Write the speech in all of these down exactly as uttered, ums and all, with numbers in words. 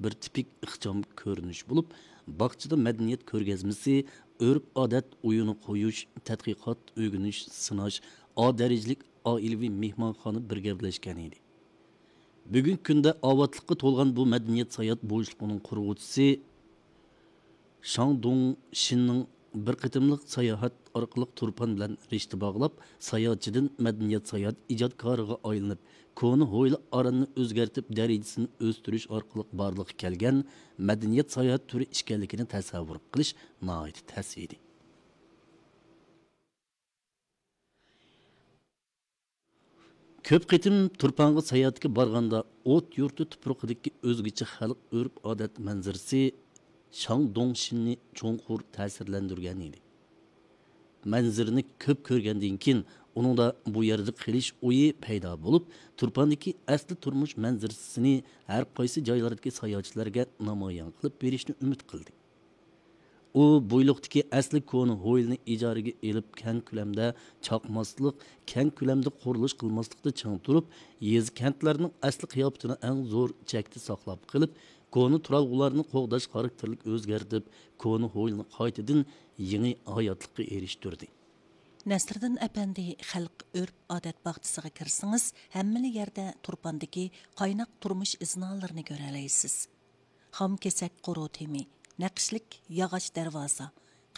بىر تىپىك ئىخچام كۆرۈنۈش بولۇپ، باغچىدا مەدەنىيەت كۆرگەزمىسى، ئۆرپ-ئادەت ئويۇنى قويۇش، تەتقىقات، ئۆگىنىش، سىناش، ئا دەرىجىلىك ئائىلىۋى مېھمانخانا بىر گەۋدىلەشكەن ئىدى. بۈگۈنكى كۈندە ئاۋاتلىققا تولغان بۇ مەدەنىيەت ساياھەت بوشلۇقىنىڭ قۇرغۇچىسى شاڭ دوڭشىننىڭ بىر قېتىملىق ساياھەت ئارقىلىق تۇرپان بىلەن رىشتە باغلاپ، ساياھەتچىدىن مەدەنىيەت ساياھەت ئىجادكارىغا ئايلىنىپ، كونا ھويلا ئاراننى ئۆزگەرتىپ، دەرىجىسىنى ئۆستۈرۈش ئارقىلىق بارلىققا كەلگەن مەدەنىيەت ساياھەت تۈرى ئىكەنلىكىنى تەسەۋۋۇر قىلىش ناھايىتى تەس ئىدى. كۆپ قېتىم تۇرپانغا ساياھەتكە بارغاندا، ئوت يۇرتى تۇپرىقىدىكى ئۆزگىچە خەلق ئۆرپ-ئادەت مەنزىرىسى شاڭ دوڭشىننى چوڭقۇر تەسىرلەندۈرگەن ئىدى. مەنزىرىنى كۆپ كۆرگەندىن كېيىن، ئۇنىڭدا بۇ يەردە قېلىش ئويى پەيدا بولۇپ، تۇرپاندىكى ئەسلى تۇرمۇش مەنزىرىسىنى ھەر قايسى جايلاردىكى ساياھەتچىلەرگە نامايان قىلىپ بېرىشنى ئۈمىد قىلدى. ئۇ بويلۇقتىكى ئەسلى كونا ھويلىنى ئىجارىگە ئېلىپ، كەڭ كۆلەمدە چاقماسلىق، كەڭ كۆلەمدە قۇرۇلۇش قىلماسلىقتا چىڭ تۇرۇپ، يېزا، كەنتلەرنىڭ ئەسلى قىياپىتىنى ئەڭ زور چەكتە ساقلاپ قېلىپ، كونا تۇرالغۇلارنى قوغداش خاراكتېرلىك ئۆزگەرتىپ، كونا ھويلىنى قايتىدىن يېڭى ھاياتلىققا ئېرىشتۈردى. نەسىردىن ئەپەندى خەلق ئۆرپ-ئادەت باغچىسىغا كىرسىڭىز، ھەممىلا يەردە تۇرپاندىكى قايناق تۇرمۇش ئىزنالىرىنى كۆرەلەيسىز. خام كېسەك قورۇ تېمى، نەقىشلىك ياغاچ دەرۋازا،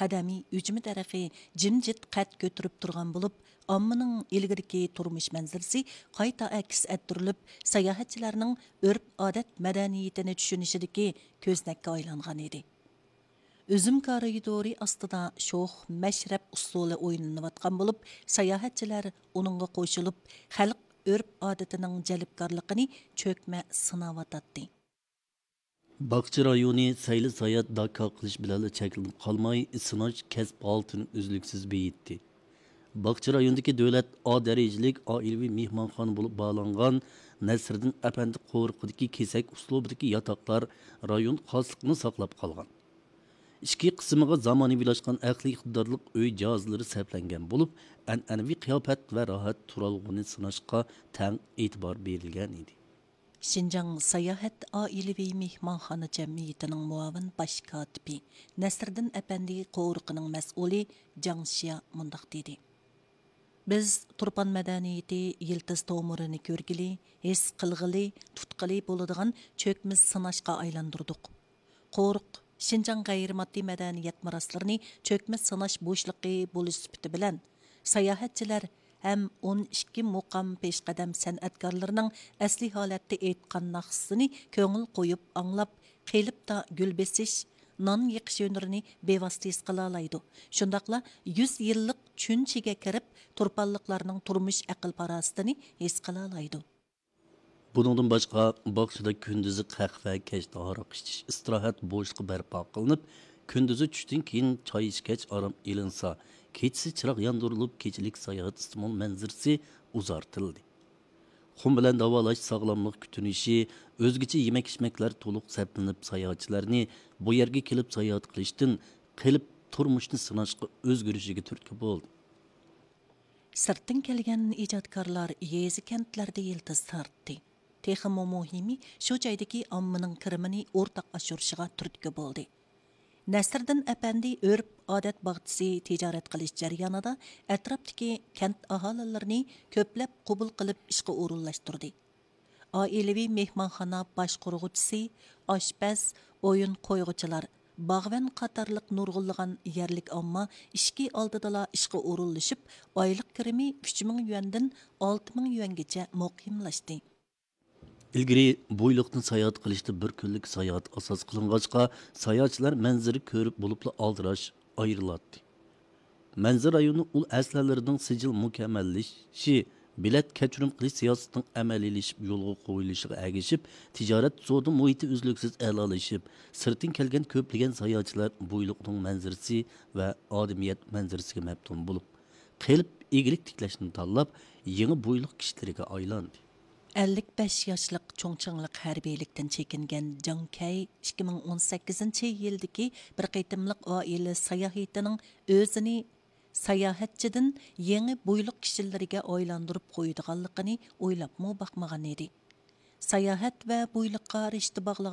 قەدىمىي ئۈجمە دەرىخى جىمجىت قەد كۆتۈرۈپ تۇرغان بولۇپ، ئاممىنىڭ ئىلگىرىكى تۇرمۇش مەنزىرىسى قايتا ئەكس ئەتتۈرۈلۈپ، ساياھەتچىلەرنىڭ ئۆرپ-ئادەت مەدەنىيىتىنى چۈشىنىشىدىكى كۆزنەككە ئايلانغان ئىدى. ئۈزۈم كارىدورى ئاستىدا شوخ مەشرەپ ئۇسسۇلى ئوينىلىۋاتقان بولۇپ، ساياھەتچىلەر ئۇنىڭغا قوشۇلۇپ، خەلق ئۆرپ-ئادىتىنىڭ جەلپكارلىقىنى چۆكمە سىناۋاتاتتى. باغچە رايونى سەيلە-ساياھەت داكا قىلىش بىلەنلا چەكلىنىپ قالماي، سىناش كەسىپ ھالىتىنى ئۈزلۈكسىز بېيىتتى. باغچە رايونىدىكى دۆلەت ئا دەرىجىلىك ئائىلىۋى مېھمانخانا بولۇپ باھالانغان نەسىردىن ئەپەندى قورۇقىدىكى كېسەك ئۇسلۇبىدىكى ياتاقلار رايون خاسلىقىنى ساقلاپ قالغان. ئىچكى قىسمىغا زامانىۋىلاشقان ئەقلىي ئىقتىدارلىق ئۆي جاھازلىرى سەپلەنگەن بولۇپ، ئەنئەنىۋى قىياپەت ۋە راھەت تۇرالغۇنى سىناشقا تەڭ ئېتىبار بېرىلگەن ئىدى. شىنجاڭ ساياھەت ئائىلىۋى مېھمانخانا جەمئىيىتىنىڭ مۇئاۋىن باش كاتىپى نەسىردىن ئەپەندى قورۇقىنىڭ مەسئۇلى جاڭ شيا مۇنداق دېدى: بىز تۇرپان مەدەنىيىتى يىلتىز تومۇرىنى كۆرگىلى، ھېس قىلغىلى، تۇتقىلى بولىدىغان چۆكمە سىناشقا ئايلاندۇردۇق. قورۇق شىنجاڭ غەيرىي ماددىي مەدەنىيەت مىراسلىرىنى چۆكمە سىناش بوشلۇقى بولۇش سۈپىتى بىلەن، ساياھەتچىلەر ھەم ئون ئىككى مۇقام پېشقەدەم سەنئەتكارلىرىنىڭ ئەسلىي ھالەتتە ئېيتقان ناخشىسىنى كۆڭۈل قويۇپ ئاڭلاپ، قېلىپتا گۈل بېسىش، نان يېقىش ھۈنىرىنى بىۋاسىتە ھېس قىلالايدۇ. شۇنداقلا يۈز يىللىق چۈنچىگە كىرىپ، تۇرپانلىقلارنىڭ تۇرمۇش ئەقىل-پاراسىتىنى ھېس قىلالايدۇ. بۇنىڭدىن باشقا، باغچىدا كۈندۈزى قەھۋە، كەچتە ھاراق ئىچىش ئىستىراھەت بوشلۇقى بەرپا قىلىنىپ، كۈندۈزى چۈشتىن كېيىن چاي ئىچكەچ ئارام ئېلىنسا، كېچىسى چىراغ ياندۇرۇلۇپ، كېچىلىك ساياھەت ئىستېمال مەنزىرىسى ئۇزارتىلدى. خۇن بىلەن داۋالاش، ساغلاملىق كۈتۈنۈشى، ئۆزگىچە يېمەك-ئىچمەكلەر تولۇق سەپلىنىپ، ساياھەتچىلەرنى بۇ يەرگە كېلىپ ساياھەت قىلىشتىن قېلىپ تۇرمۇشنى سىناشقا ئۆزگىرىشىگە تۈرتكە بولدى. سىرتتىن كەلگەن ئىجادكارلار يېزا-كەنتلەردە يىلتىز تارتتى. تېخىمۇ مۇھىمى، شۇ جايدىكى ئاممىنىڭ كىرىمىنى ئورتاق ئاشۇرۇشىغا تۈرتكە بولدى. نەسىردىن ئەپەندى ئۆرپ-ئادەت باغچىسى تىجارەت قىلىش جەريانىدا ئەتراپتىكى كەنت ئاھالىلىرىنى كۆپلەپ قوبۇل قىلىپ ئىشقا ئورۇنلاشتۇردى. ئائىلىۋى مېھمانخانا باشقۇرغۇچىسى، ئاشپەز، ئويۇن قويغۇچىلار، باغۋەن قاتارلىق نۇرغۇنلىغان يەرلىك ئامما ئىشىكى ئالدىدىلا ئىشقا ئورۇنلىشىپ، ئايلىق كىرىمى ئۈچ مىڭ يۈەندىن ئالتە مىڭ يۈەنگىچە مۇقىملاشتى. ئىلگىرى بويلۇقتىن ساياھەت قىلىشتا بىر كۈنلۈك ساياھەت ئاساس قىلىنغاچقا، ساياھەتچىلەر مەنزىرە كۆرۈپ بولۇپلا ئالدىراش ئايرىلاتتى. مەنزىرە رايونى ئۇل ئەسلىھەلىرىنىڭ سىجىل مۇكەممەللىشىشى، بېلەت كەچۈرۈم قىلىش سىياسىتىنىڭ ئەمەلىيلىشىپ يولغا قويۇلۇشىغا ئەگىشىپ، تىجارەت سودا مۇھىتى ئۈزلۈكسىز ئەلالىشىپ، سىرتتىن كەلگەن كۆپلىگەن ساياھەتچىلەر بويلۇقنىڭ مەنزىرىسى ۋە ئادىمىيەت مەنزىرىسىگە مەپتۇن بولۇپ، قېلىپ ئىگىلىك تىكلەشنى تاللاپ، يېڭى بويلۇق كىشىلىرىگە ئايلاندى. ئەللىك بەش ياشلىق چۇڭچىڭلىق ھەربىيلىكتىن چېكىنگەن جاڭ كەي ئىككى مىڭ ئون سەككىزىنچى يىلدىكى بىر قېتىملىق ئائىلە ساياھىتىنىڭ ئۆزىنى ساياھەتچىدىن يېڭى بويلۇق كىشىلىرىگە ئايلاندۇرۇپ قويىدىغانلىقىنى ئويلاپمۇ باقمىغان ئىدى. ساياھەت ۋە بويلۇققا رىشتە باغلىغان